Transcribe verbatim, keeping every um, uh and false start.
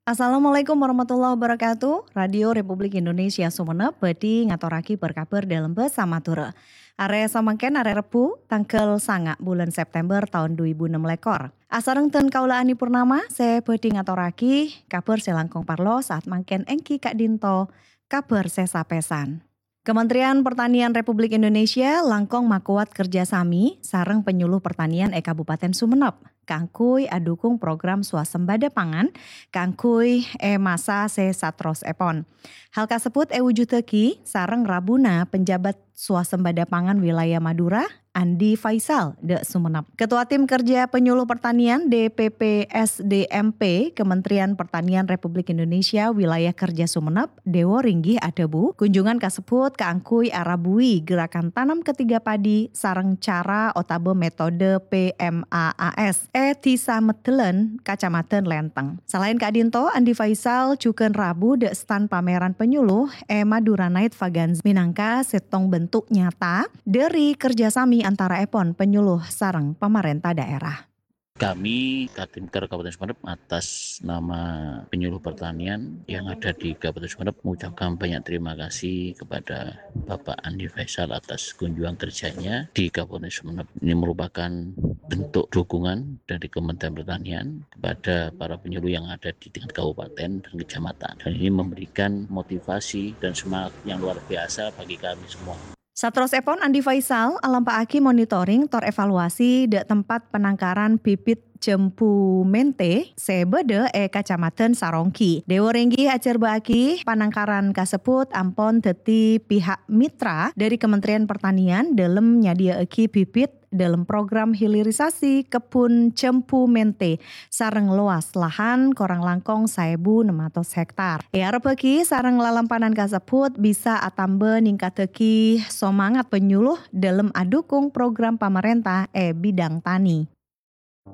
Assalamualaikum warahmatullahi wabarakatuh. Radio Republik Indonesia Sumenep bhâdhi ngatorraghi bâr-kabhâr dâlem bhâsa Madhurâ. Arè samangkèn arè Rebbhu, tangghâl sanga' bulân September taon du èbu ennem lèkor. Asareng dân kaulâ Ani Purnama sè bhâdhi ngatorraghi kabhâr sè langkong parlo saat mangkèn èngghi ka'dinto kabhâr sè sapèsan. Kementerian Pertanian Republik Indonesia langkong makowat kerjasami sareng penyuluh pertanian è Kabupaten Sumenep kaangghuy adhukung program swasembada pangan kaangghuy è masa sè saterrossèpon. Hal kasebbhut èwujudaghi sareng rabuna penjabat swasembada pangan wilayah Madura, Andi Faisal, dâ' Sumenep. Ketua Tim Kerja Penyuluh Pertanian, D P P S D M P, Kementerian Pertanian Republik Indonesia Wilayah Kerja Sumenep, Dewo Ringgih adhâbu, kunjungan kasebbhut kaangghuy arabuwi gerakan tanam ketiga padi sareng cara otabâ metode P M A A S è Dhisa Meddhellân, Kacamadhân Lenteng. Salaèn ka'dinto, Andi Faisal jhughân rabu dâ' stan pameran penyuluh è Madura Night Vaganza mènangka sèttong bentuk nyata dâri kerjasami antaraèpon penyuluh sareng pamarènta daerah. Kami, Kadinker Kabupaten Sumenep, atas nama penyuluh pertanian yang ada di Kabupaten Sumenep, mengucapkan banyak terima kasih kepada Bapak Andi Faisal atas kunjungan kerjanya di Kabupaten Sumenep. Ini merupakan bentuk dukungan dari Kementerian Pertanian kepada para penyuluh yang ada di tingkat kabupaten dan kecamatan. Dan ini memberikan motivasi dan semangat yang luar biasa bagi kami semua. Saterrossèpon, Andi Faisal alampa'aghi monitoring tor evaluasi dâ' tempat penangkaran bibit jambu mente sè bâdâ è Kacamadhân Saronggi. Dewo Ringgih ajhârbâ'âghi panangkaran kasebbhut ampon dhâddhi pihak mitra dâri Kementerian Pertanian dâlem nyadhiyâ'âghi bibit dâlem program hilirisasi kebbhun jambu mente sareng lowas lahan korang langkong saèbu ennem atos hektar. Èarebbhâghi sareng lalampanan kasebbhut bisa atamba ningkaddhâghi somangat penyuluh dâlem adhukung program pamarènta è bidang tani.